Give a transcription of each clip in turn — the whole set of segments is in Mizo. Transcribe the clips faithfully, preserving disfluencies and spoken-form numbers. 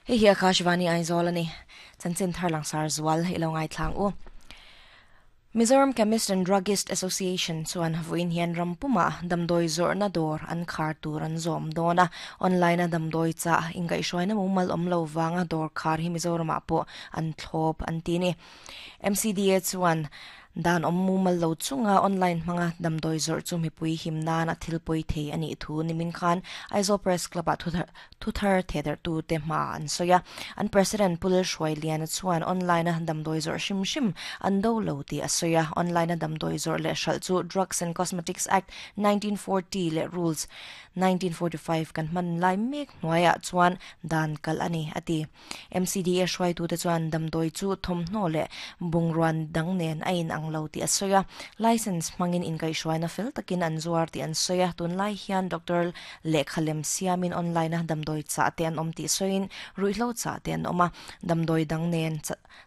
Hei hi Akashvani Aizawl ani chanchin thar langsar zual ilo ngai thlang u. Mizoram Chemist and Druggist Association chuan vawiin hian rampuma damdawi zawrhna dawr an khar tur an zawm dawn a. Online a damdawi chah inkaihhruaina mumal awm lo wanga dawr khar hi Mizoramah pawh an thlawp an ti ni. M C D A chuan dan awm mumal lo chunga online hmanga damdawi zawrh chu mipui him nan a thil pawi thei ani thu nimin khan Aizawl Press Club ah thuthar theder tu te hma an sawi a. An president Pulil Hruai Lian chuan online a damdawi zawrh hrim hrim an do lo ti a sawi a. Online a damdawi zawrh leh hralh chu Drugs and Cosmetics Act nineteen forty leh Rules nineteen forty-five kan hman lai mek hnuaiah chuan dan kal ani ati. M C D A hruai tu te chuan damdawi chu thawmhnaw leh bungruan dang nen a in ang lo ti a sawi a. License hmangin inkaihhruaina fel takin an zuar ti an sawi a. Tunlai hian Doctor Lekhalem siamin online a damdawi chah te an awm ti sawiin ruihhlo chah te an awm a. Damdawi dang nen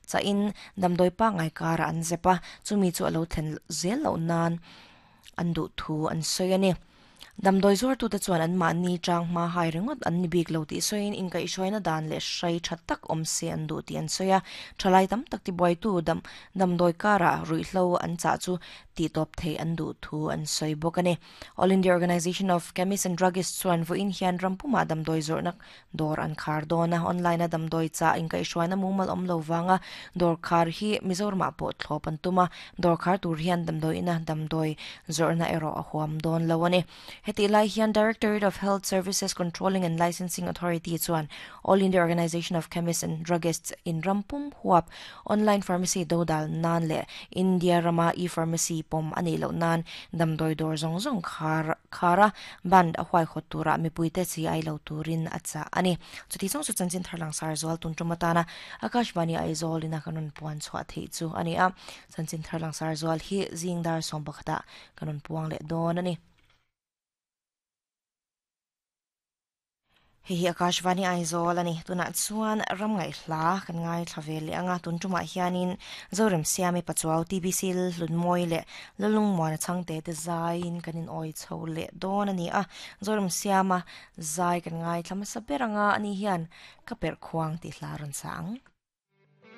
chahin damdawi pangngai kara an zep a. Chumi chu a lo thlen zel loh nan an duh thu an sawi ani. Damdawi zuar tu te chuan an mahni tang hma hai ringawt an ni bik lo ti sawiin inkaihhruaina dan leh hrai tha tak awm se an duh ti an sawi a. Thalai tam tak ti buai tu dam damdawi kara ruihhlo an chah chu ti tawp thei an duh thu an sawi bawk ani. All India Organisation of Chemists and Druggists chuan vawiin hian rampuma damdawi zawrhna dawr an khar dawn a. Online a damdawi chah inkaihhruaina mumal awm lo wanga dawr khar hi Mizoramah pawh thlawp an tum a. Dawr khar tur hian damdawi ina damdawi zawrhna erawh a huam dawn lo ani. Heti lai hian Directorate of Health Services Controlling and Licensing Authority chuan All India Organisation of Chemists and Druggists in rampum huap online pharmacy dodal nan le India rama e-pharmacy pom ani lo nan damdawi dawr zawng zawng khar khara band a huai khawt tura mipui te chi ai lo turin a chah ani. Chuti chong chu chanchin thar langsar zual tun tumatana Akashvani Aizawl ina kanun puan chhuah thei chu ani a. Chanchin thar langsar zual hi zingdar som pakhata kanun puang leh dawn ani. Hei hi Akashvani Aizawl ani. Tunah chuan ram ngai hla kan ngai thlavel leh anga tun tumah hianin Zoram Siami Pachuau T B C Hlunmawi leh Lalung Muana Chhangte te zaiin kanin awi chho leh dawn ani a. Zoram Siama zai kan ngai thla hmasa ber anga ani hian ka perh khuang tih hla rawn sa ang.